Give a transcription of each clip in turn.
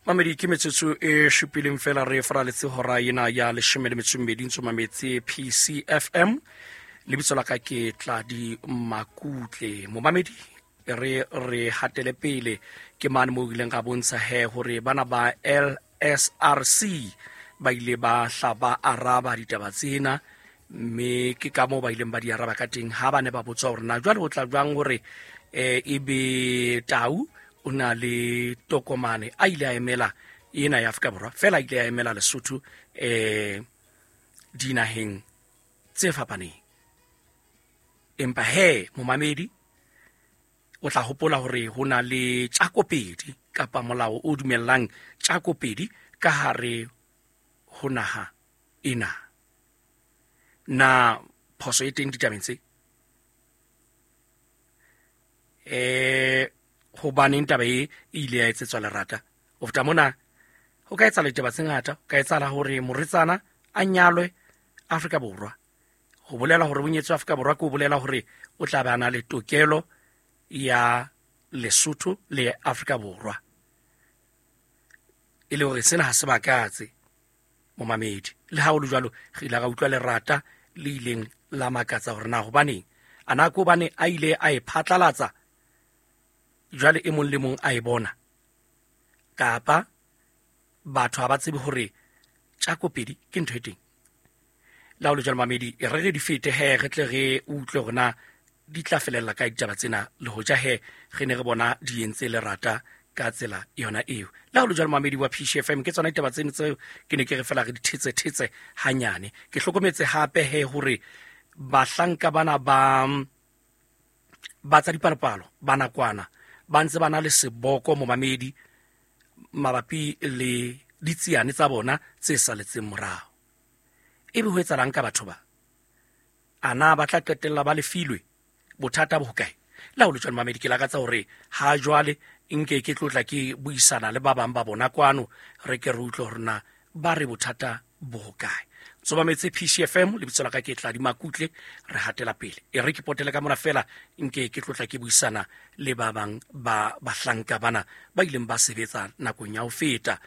Mamedi, ke metsotso e supileng fela re faraletse hora ena ya 12 ntso mametse PCFM. Lebitso la ka ke Tladi Makutle. Momamedi, re hatele pele ke mane mo ileng ga bontsha he hore bana ba LSRC ba ile ba hla ba araba ditaba tsena, mme ke ka moo ba ileng ba di araba ka teng ha ba ne ba botsa hore na jwale ho tla jwang hore ebe Tau o na le tokomane a ile a emela ena ya Afrika Borwa, fela a ile a emela Lesotho dinaheng tse fapaneng. Empa he momamedi o tla hopola hore ho na le tjakopedi kapa molao o dumellang tjakopedi ka hare ho naha ena. Na phoso e teng ditabeng tse? Hobaneng taba e ile ya etsetswa lerata? Ho feta mona ho ka etsahala ditaba tse ngata. Ho ka etsahala hore morwetsana a nyalwe Afrika Borwa. Ho bolela hore o nyetswe Afrika Borwa ke ho bolela hore o tla ba na le tokelo ya Lesotho le Afrika Borwa. E le hore sena ha se bakatse momamedi. Le ha ho le jwalo, re ile ra utlwa lerata le ileng la makatsa hore na hobaneng. A na ke hobane a ile a e phatlalatsa jwale e mong le mong a e bona, kapa batho ha ba tsebe hore tjakopedi ke ntho e teng. La ho le jwalo mamedi, e re re di fete he, re tle re utlwe hore na di tla felella kae ditaba tsena, le hoja he re ne re bona di entse lerata ka tsela yona eo. La ho le jwalo mamedi wa PCFM, ke tsona ditaba tseno tseo ke ne ke re fela re di thetse-thetse hanyane. Ke hlokometse hape he hore bahlanka bana ba tsa dipalopalo ba nakwana ba ntse ba na le seboko momamedi mabapi le ditsiane tsa bona tse saletseng morao. Ebe ho etsahalang ka batho ba? A na ba tla qetella ba lefilwe? Bothata bo hokae? La ho le jwalo mamedi, ke lakatsa hore ha jwale nke ke tlotla ke buisana le ba bang ba bona kwano, re ke re utlwe hore na ba re bothata bo hokae. Tsobametse PCFM, lebitso la ka ke Tladi Makutle, re hatela pele. E re ke potele ka mona fela nke ke tlotla ke buisana le ba bang ba bahlanka bana ba ileng ba sebetsa nakong ya ho feta.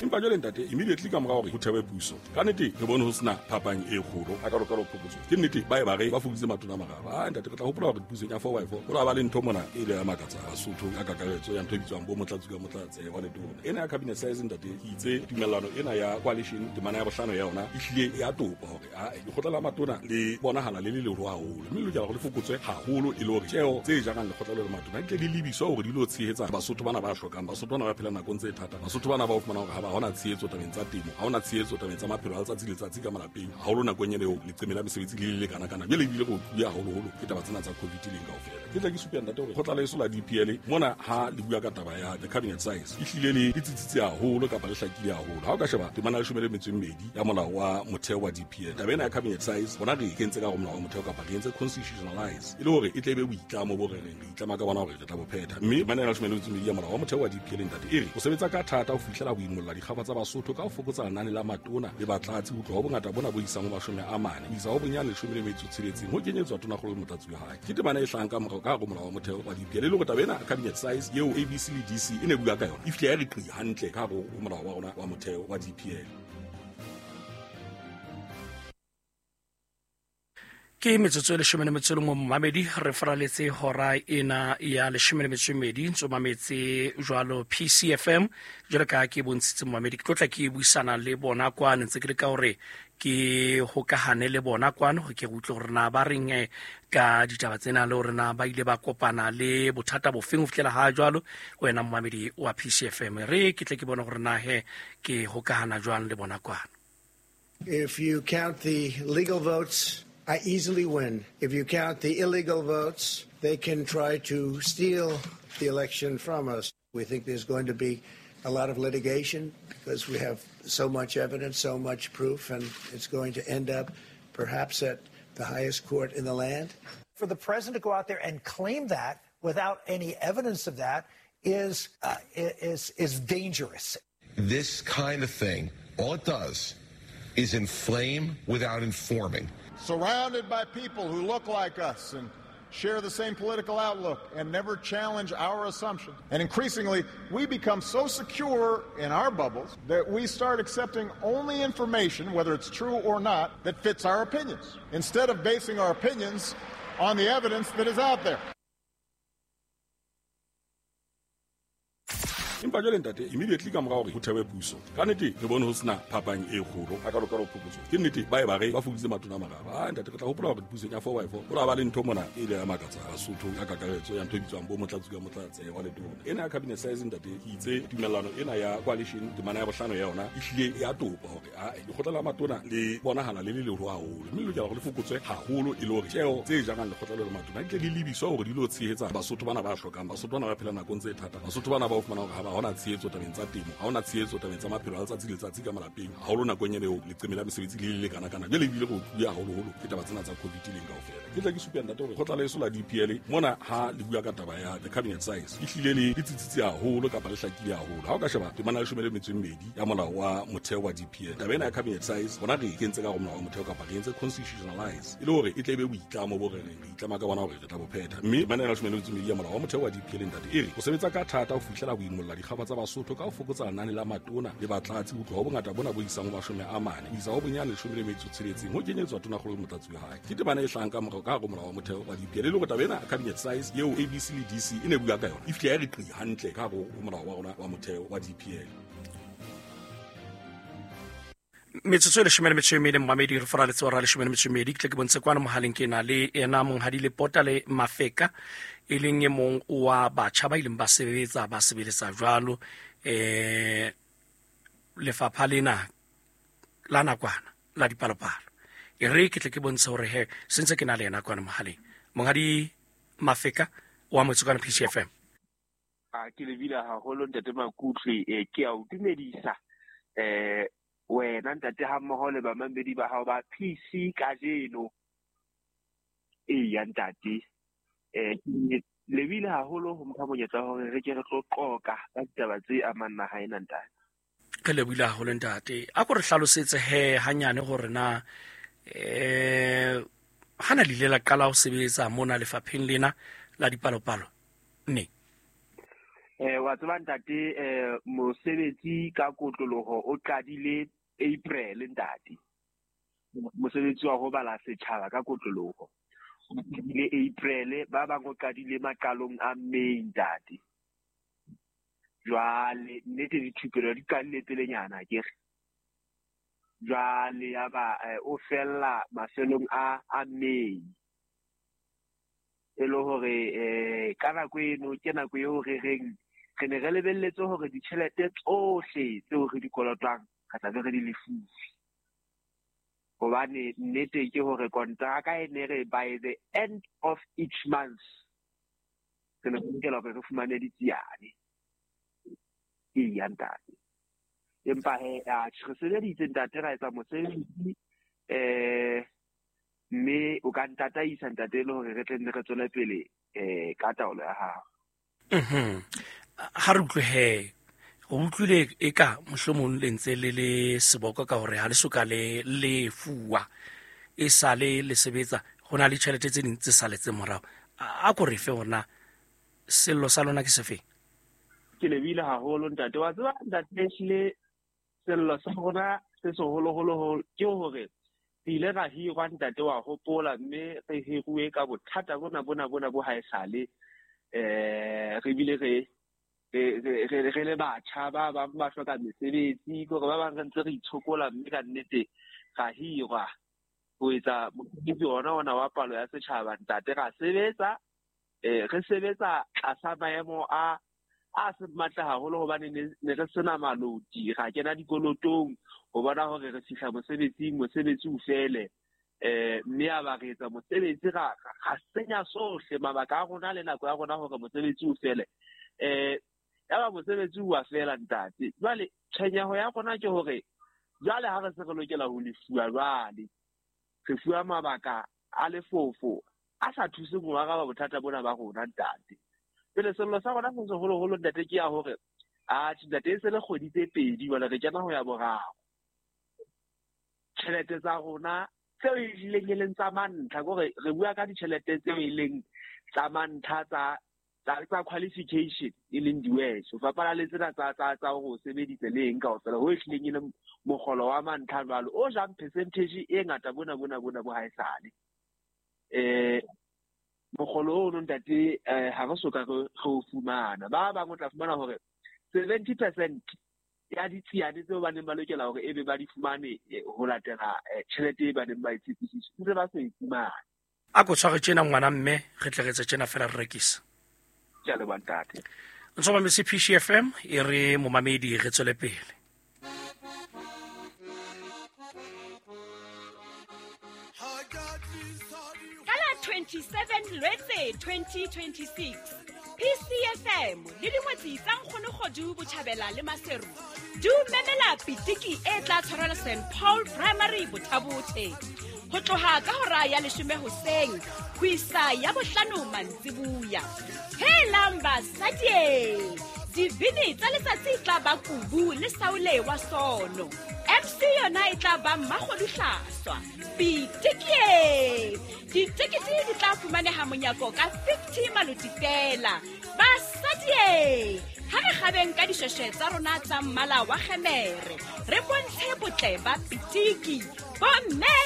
Empa jwale ntate, immediately ka mora hore ho thewe puso, ka nnete re bone ho sena phapang e kgolo a ka lokalo phokotso. Ke nnete ba e ba re ba fokoditse matona a mararo. Ah ntate, re tla hopola hore pusong ya 4x4 ho la ba le ntho mona e ile ya makatsa Basotho ka kakaretso ya ntho e bitswang bo motlatsi ka motlatse wa letona. Ena ya cabinet size ntate, ke itse tumellano ena ya coalition temana ya bohlano ya yona e hlile ya topa hore a lekgotla la matona le bonahala le le leholo haholo, mme le lokela hore le fokotswe haholo e le hore tjeo tse jarang lekgotla le matona di tle di lebiswe hore di lo tshehetsa Basotho bana ba hlokang, Basotho bana ba phelang nakong tse thata, Basotho bana ba o fumana hore ha ba hona tshehetso tabeng tsa temo, ha hona tshehetso tabeng tsa maphelo a letsatsi le letsatsi ka malapeng, haholo nakong ena eo leqeme la mesebetsi le le kana kana. Jwale ebile re otluwe haholoholo ke taba tsena tsa COVID leng kaofela. Ke tla ke supe ntate hore kgotla leso la DPL mona ha le bua ka taba ya the cabinet size e hlile le tsitsitse haholo kapa le hlakile haholo. Ha o ka sheba temana ya 12 ya molao wa motheo wa DPL, taba ena ya cabinet size bona re e kentse ka hare molao wa motheo kapa re entse constitutionalize e le hore e tle be boitlamo bo re reng re itlama ka bona hore re tla bo phetha. Mme temana ya 12 ya molao wa motheo wa DPL ntate e re o sebetsa ka thata ho fihlela ho imolla dikgaba tsa Basotho ka ho fokotsa lenane la matona le batlatsi ho tloha ho bongata bona bo isang ho 40 ho isa ho bonyane 16 ho kenyetswa tonakgolo le motlatsi wa hae. Ke temana e hlahang ka morao ka hare molao wa motheo wa DPL e le hore taba ena cabinet size eo ABC le DC e ne bua ka yona e fihle ya re qi hantle ka hare ho molao wa rona wa motheo wa DPL. Ke metsotso e 11 momamedi, re faraletse hora ena ya 12 ntso mametse jwalo PCFM. Jwalo ka ke bontshitse momamedi, ke tlotla ke buisana le bona kwano, ntse ke le ka hore ke hokahane le bona kwano hore ke utlwe hore na ba reng ka ditaba tsena le hore na ba ile ba kopana le bothata bofeng ho fihlela ha jwalo. Wena momamedi wa PCFM, re ke tle ke bone hore na he ke hokahana jwang le bona kwano. If you count the legal votes, I easily win. If you count the illegal votes, they can try to steal the election from us. We think there's going to be a lot of litigation because we have so much evidence, so much proof, and it's going to end up perhaps at the highest court in the land. For the president to go out there and claim that without any evidence of that is dangerous. This kind of thing, all it does is inflame without informing. Surrounded by people who look like us and share the same political outlook, and never challenge our assumptions. And increasingly, we become so secure in our bubbles that we start accepting only information, whether it's true or not, that fits our opinions, instead of basing our opinions on the evidence that is out there. Empa jwale ntate, immediately ka mora hore ho thewe puso, ka nnete re bone ho sena phapang e kgolo hakalo-kalo phokotso. Ke nnete ba e ba re ba fokoditse matona a mararo. Ah ntate, re tla hopola hore pusong ya 4x4 ho la ba le ntho mona e ile ya makatsa Basotho ka kakaretso ya ntho e bitswang bo motlatsi ka motlatse wa letona. Ena ya cabinet size ntate, ke itse tumellano ena ya coalition temana ya bohlano ya yona e hlile ya topa hore a lekgotla la matona le bonahala le le leholo haholo, mme le lokela hore le fokotswe haholo e le hore tjeo tse jarang lekgotla le matona di tle di lebiswa hore di lo tshehetsa Basotho bana ba hlokang, Basotho bana ba phelang nakong tse thata, Basotho bana ba o fumana hore ha ba hona tshehetso tabeng tsa temo, ha hona tshehetso tabeng tsa maphelo a letsatsi le letsatsi ka malapeng, haholo nakong ena eo leqeme la mesebetsi le le kana-kana. Jwale ebile re utlwile haholoholo ke taba tsena tsa COVID leng kaofela. Ke tla ke supe ntate hore kgotla leso la DPL mona ha le bua ka taba ya the cabinet size e hlile le tsitsitse haholo kapa le hlakile haholo. Ha o ka sheba temana ya 12 ya molao wa motheo wa DPL, taba ena ya cabinet size bona re kentse ka molao wa motheo kapa re entse constitutionalize e le hore e tle be boitlamo bo re reng re itlama ka bona hore re tla bo phetha. Mme temana ya 12 ya molao wa motheo wa DPL ntate e re o sebetsa ka thata ho fihlela boimolla dikgaba tsa Basotho ka ho fokotsa lenane la matona le batlatsi ho tloha ho bongata bona bo isang ho 40 ho isa ho bonyane 16 ho kenyeletswa tonakgolo le motlatsi wa hae. Ke temana e hlahang ka morao ka hare ho molao wa motheo wa DPL e le hore taba ena cabinet size eo ABC le DC e ne bua ka yona e fihle ya re qi hantle ka hare ho molao wa rona wa motheo wa DPL. Metsotso e 12 mmamedi re fora letsora 12 ke tle ke bontshe kwana mohaleng ke na le ena monghadi le pota le Mafeka e leng e mong wa batjha ba ileng ba sebetsa ba sebeletsa jwalo lefapha lena la nakwana la dipalopalo. E re ke tle ke bontshe hore he sentse ke na le ena kwana mohaleng. Monghadi Mafeka wa Motsokwana PCFM. A ke lebile haholo ntate Makutlwe, ke a o dumedisa wena ntate ha mmoho le bamamedi ba hao ba PC kajeno. Eya ntate, lebile haholo ho mpha monyetla hore re ke re tlo qoka ka ditaba tse amang naha ena ntate. Re lebile haholo ntate. A ko re hlalosetse he hanyane hore na hana le ile la qala ho sebetsa mona lefapheng lena la dipalopalo ne? Wa tseba ntate, mosebetsi ka kotloloho o qadile April ntate. Mosebetsi wa ho bala setjhaba ka kotloloho o qadile April, ba bang o qadile maqalong a May ntate. Jwale nnete dithupelo di qadile pelenyana ke re. Jwale ya ba o fella mafelong a May. E le hore ka nako eno ke nako eo re reng re ne re lebelletse hore ditjhelete tsohle tseo re di kolotwang re tla be re di lefuwe. Hobane nnete ke hore kontraka e ne re by the end of each month re ne re lokela hore re fumane ditsiane. Eya ntate. Empa he re sebeditse ntate, ra etsa mosebetsi mme o ka ntataisa ntate e le hore re tle nne re tswele pele ka taolo ya hao. Ha re utlwe he, o utlwile e ka mohlomong le ntse le le seboko ka hore ha le soka le lefuwa e sale le sebetsa, ho na le tjhelete tse ding tse saletseng morao. A ko re fe hore na sello sa lona ke sefe? Ke lebile haholo ntate. Wa tseba ntate, ehlile sello sa rona se seholoholo ke hore re ile ra hirwa ntate wa hopola, mme re hiruwe ka bothata bona bo haesale. Re bile re le batjha ba bang ba hloka mesebetsi, ke hore ba bang re ntse re itshokola, mme ka nnete ra hirwa ho etsa mosebetsi ona wa palo ya setjhaba ntate. Ra sebetsa re sebetsa tlasa maemo a se matle haholo hobane ne re sena maloti, ra kena dikolotong ho bona hore re fihla mosebetsing, mosebetsi o fele. Mme a ba re etsa mosebetsi ra senya sohle mabaka a rona le nako ya rona hore mosebetsi o fele. Ya ba mosebetsi wa fela ntate. Jwale tshwenyeho ya rona ke hore jwale ha re se re lokela ho lefuwa, jwale re fuwa mabaka a lefofo a sa thuseng ho araba bothata bona ba rona ntate. Pele sello sa rona se seholoholo ntate ke ya hore atjhe ntate e se le kgwedi tse pedi jwale re kena ho ya boraro. Tjhelete tsa rona tseo e hlileng e leng tsa mantlha, ke hore re bua ka ditjhelete tseo e leng tsa mantlha tsa qualification e leng di-wedge ho fapana le tsena tsa hore o sebeditse le eng kaofela ho ehlileng e le mokgolo wa mantlha jwalo o jang percentage e ngata bona bo haesale. Mokgolo ono ntate ha re soka re o fumana. Ba bang o tla fumana hore 70% ya ditsiane tseo ba neng ba lokela hore ebe ba di fumane ho latela tjhelete e ba neng ba e tshepisitse ntse ba so e fumane. A ko tshware tjena ngwana mme re tle re etse tjena fela re rekisa. Ke a leboha ntate. Ntso mametse PCFM e re momamedi re tswele pele. Ka la 27 Lwetse 2026 PCFM le dingwetsi tsa Nkgono Kgodu Botjhabela le Maseru di o memela pitiki e tla tshwarelwa St Paul Primary Bothabothe ho tloha ka hora ya 10 hoseng ho isa ya 5 mantsibuya. Helang basadi, dibini tsa letsatsi tla ba Kubu le Saule wa Sono. MC yona e tla ba Mmakgodu Hlaswa. Pitikie! Ditekete di tla fumaneha monyako ka 50 maloti fela. Basadi, ha re kgabeng ka dishweshwe tsa rona tsa mmala wa kgemere, re bontshe botle ba pitiki. Bomme,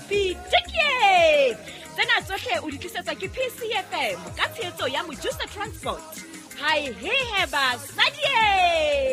pitikie! Tsena tsohle o di tlisetsa ke PCFM ka tshehetso ya Mojusa Transport. Hai he he basadi!